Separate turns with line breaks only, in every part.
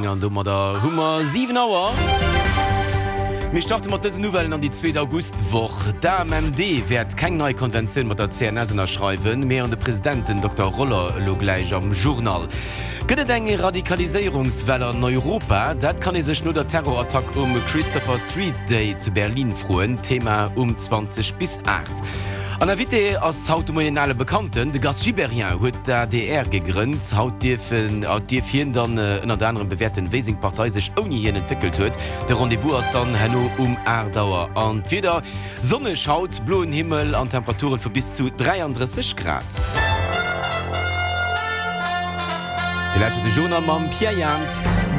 An domadder hu mer 7 Auer. Mir starte mat dësen Nouvellen an déi zweet Augustwoch. D'AMMD wäert keng nei Konventioun mat der CNS ënnerschreiwen, mee an de President, den Dokter Roller, elo gläich am Journal. Gëtt et eng Radikaliséierungswell an Europa? Dat kann ee sech no der Terrorattack um Christopher Street Day zu Berlin froen. Thema um 20 bis 8. An Invité ass haut de Moien en ale Bekannten, de Gast Gibéryen huet d'ADR gegrënnt. Haut dierf dierf hien dann ënnert anerem bewäerten, wéi seng Partei sech ouni hien entwéckelt huet. De Rendez-vous ass dann herno um 8 Auer. An d'Wieder, Sonneg haut, bloen Himmel an Temperaturen vu bis zu 33 Grad. Dir lauschtert de Journal mam Pierre Jans.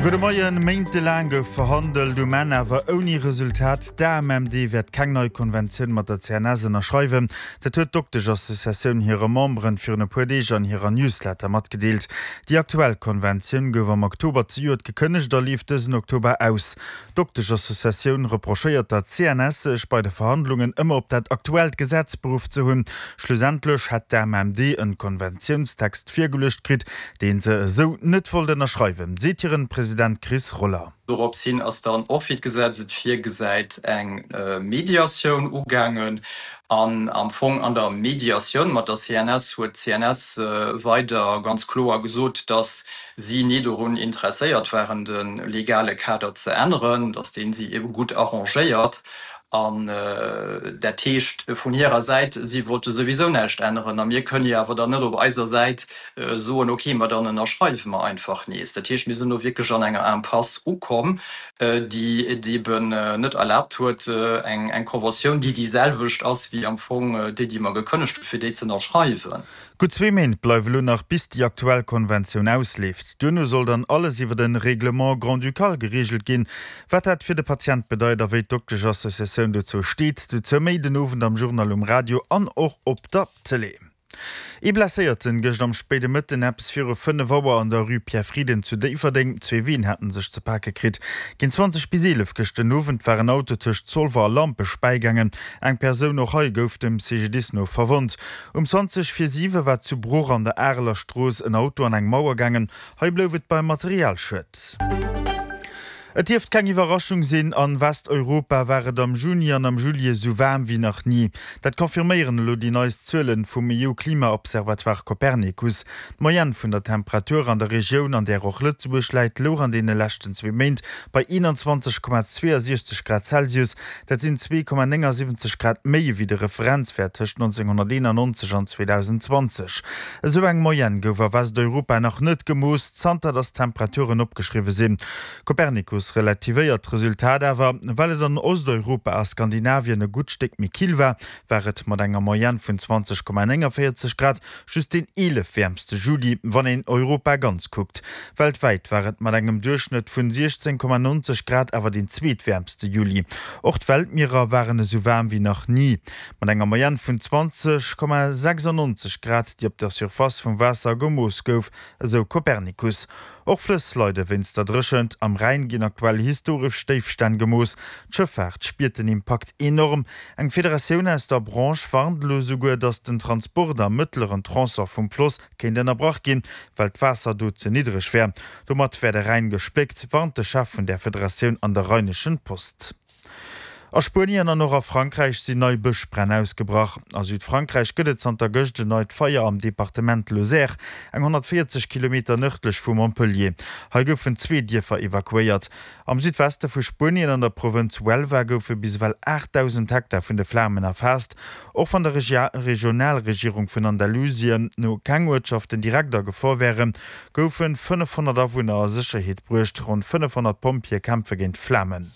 Gudde Moien. Méintelaang gouf verhandelt, um Enn awer ouni Resultat. D'AMMD wäert keng nei Konventioun mat der CNS ënnerschreiwen. Dat huet d'Doktesch-Associatioun hire Memberen virun e puer Deeg an hirer Newsletter matgedeelt. Déi aktuell Konventioun gouf am Oktober zejoert gekënnegt a leeft dësen Oktober aus. D'Doktesch-Associatioun reprochéiert der CNS, sech bei de Verhandlungen ëmmer op dat aktuellt Gesetz beruff ze hunn. Schlussendlech hätt d'AMMD en Konventiounstext virgeluecht kritt, deen se esou net wollt ënnerschreiwen, seet hiren President Chris Roller.
Dorops hin ass dann och, wéi d'Gesetz et virgesäit, eng Mediatioun ugaangen. An am Fong an der Mediatioun mat der CNS huet d'CNS weider ganz kloer gesot, dass si ni dorun interesséiert waren, de legale Kader ze änneren, dass dee si ebe gutt arrangéiert. An dat heescht vun hirer Säit, si wollte souwisou näischt änneren. A mir kënnen jo awer dann net op eiser Säit soen, okay, ma dann ënnerschreiwe mer einfach nees. Dat heescht, mir sinn do wierklech an enger Impasse ukomm, déi et eben net erlaabt huet, eng Conventioun, déi déi selwecht ass wéi am Fong déi, déi mer gekënnegt hunn, fir déi ze ënnerschreiwen.
Gutt zwee Méint bleiwe lo nach bis déi aktuell Konventioun ausleeft. Duerno soll dann alles iwwer en Règlement grand-ducal gereegelt ginn. Wat dat fir de Patient bedeit a wéi d'Dokteschassociatioun dozou steet, dozou méi den Owend am Journal um Radio an och op der Tëlee. Ee Blesséierten gëscht am spéide Mëtten eppes viru 5 Auer an der Rue Pierre Frieden zu Déifferdeng. Zwee Ween haten sech ze pake kritt. Géint 20 bis 11 gëscht den Owend war en Auto tëscht Zolwer a Lampech bäigaangen. Eng Persoun och hei gouf dem CGDIS no verwonnt. Um 20 vir 7 war zu Bruch an der Areler Strooss en Auto an eng Mauer gaangen. Hei blouf et beim Materialschued. Et dierft keng Iwwerraschung sinn, an Westeuropa war et am Juni an am Juillet esou waarm wéi nach ni. Dat confirméieren elo déi neist Zuelen vum EU-Klimaobservatoire Copernicus. D'Moyenne vun der Temperatur an der Regioun, an där och Lëtzebuerg läit, louch an deene leschten zwee Méint bei 21,62 Grad Celsius. Dat sinn 2,79 Grad méi ewéi de Referenzwäert tëscht 1991 an 2020. Esou eng Moyenne gouf a Westeuropa nach net gemooss, zanter datt d'Temperaturen opgeschriwwe sinn. Copernicus relativéiert d'Resultat awer. Well et an Osteuropa a Skandinavien e gutt Stéck méi kill war, war et mat enger Moyenne vun 20,49 Grad just deen 11 wäermste Juli, wann een Europa ganz kuckt. Weltwäit war et mat engem Duerchschnëtt vun 16,90 Grad awer deen zweetwäermste Juli. Och d'Weltmierer waren esou waarm wéi nach ni, mat enger Moyenne vun 20,96 Grad, déi op der Surface vum Waasser gemooss gouf, esou Copernicus. Och Flëss leide wéinst der Dréchent. Am Rhäin ginn aktuell historesch Déifstänn gemooss. D'Schëffaart spiert den Impakt enorm. Eng Federatioun aus der Branche warnt elo esouguer, datt den Transport am mëttleren Tronçon vum Floss kéint ënnerbrach ginn, well d'Waasser do ze niddreg wär. Domat wär de Rhäin gespléckt, warnt de Chef vun där Federatioun an der Rheinischen Post. A Spuenien an och a Frankräich sinn nei Bëschbränn ausgebrach. A Südfrankräich gëtt et zanter gëscht en neit Feier am Departement Lozère, eng 140 Kilometer nërdlech vu Montpellier. Hei goufen zwee Dierfer evakuéiert. Am Südweste vu Spuenien, an der Provënz Huelva, goufe bis ewell 8.000 Hektar vun de Flamen erfaasst. Och wann der Regionalregierung vun Andalusien no keng Uertschaften direkt a Gefor wären, goufe 500 Awunner a Sécherheet bruecht. Ronn 500 Pompjeeë kämpfe géint d'Flamen.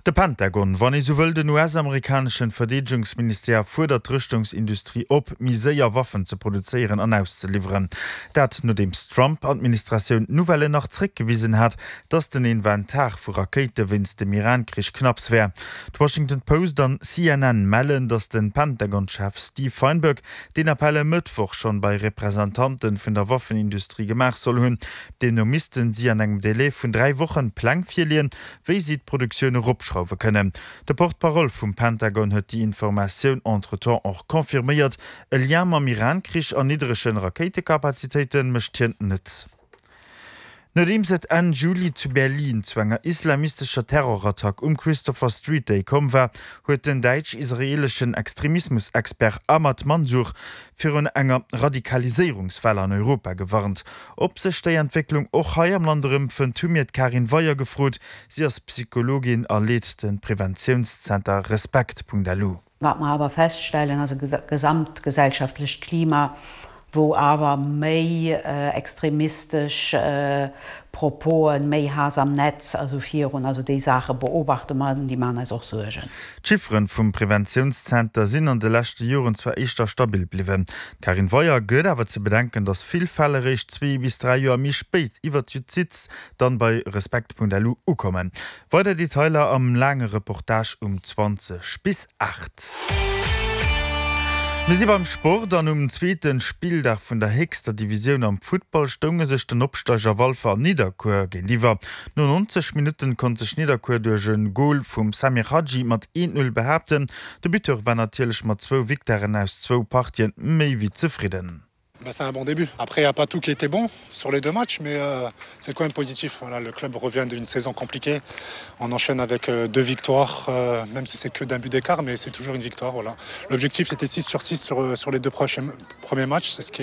De Pentagon, wann ee sou wëll den US-amerikaneschen Verdeedegungsministère, fuerdert d'Rëschtungsindustrie op, méi séier Waffen ze produzéieren an auszeliwweren. Dat nodeems d'Trump-Administratioun d'Nouvelle nach zréckgewisen hat, datt den Inventar vu Rakéite wéinst dem Iran-Krich knapps wär. D'Washington Post an CNN mellen, datt de Pentagon-Chef Steve Feinberg deen Appell e Mëttwoch schonn bei Representanten vun der Waffenindustrie gemaach soll hunn. Deemno missten si an engem Delai vun 3 Wochen Pläng virleeën, wéi si d'Produktioun eropschrauwe kënnen. De Porte-parole vum Pentagon huet déi Informatioun entretemps och confirméiert. E Lien mam Iran-Krich an niddregen Rakéitekapazitéite mécht hien net. Nodeems et Enn Juli zu Berlin zu enger islamistescher Terrorattack um Christopher Street Day komm war, huet den däitsch-israeeleschen Extremismus-Expert Ahmad Mansour virun enger Radikaliséierungswell an Europa gewarnt. Ob sech déi Entwécklung och hei am Land erëmfënnt, hu mir d'Karin Weyer gefrot. Si ass Psychologin a leet de Preventiounszenter Respekt.lu.
Wat mer awer feststellen, ass e gesamtgesellschaftlecht Klima, wou awer méi extremistesch Proposen, méi Haass am Netz, also virun, also déi Saache beobachte mer an déi maachen eis och Suergen.
D'Chifferen vum Preventiounszenter sinn an de leschte Joren zwar éischter stabil bliwwen. D'Karin Weyer gëtt awer ze bedenken, datt vill Fäll eréischt zwee bis dräi Joer méi spéit iwwer d'Justiz dann bei Respekt.lu ukommen. Weider Detailer am laange Reportage um 20 bis 8. Mir si beim Sport an um zweete Spilldag vun der héchster Divisioun am Futtball stounge sech den Opsteiger Walfer an Nidderkuer géintiwwer. No 90 Minutten konnt sech Nidderkuer duerch e Gol vum Samir Hadji mat 1, 0 behaapten. De Buteur war natierlech mat zwou Victoiren aus zwou Partien méi wéi zefridden.
C'est un bon début. Après, il n'y a pas tout qui était bon sur les deux matchs, mais euh, c'est quand même positif. Voilà, le club revient d'une saison compliquée. On enchaîne avec euh, deux victoires, euh, même si c'est que d'un but d'écart, mais c'est toujours une victoire. Voilà. L'objectif, c'était 6 sur 6 sur, euh, sur les deux prochains, premiers matchs. C'est ce qui.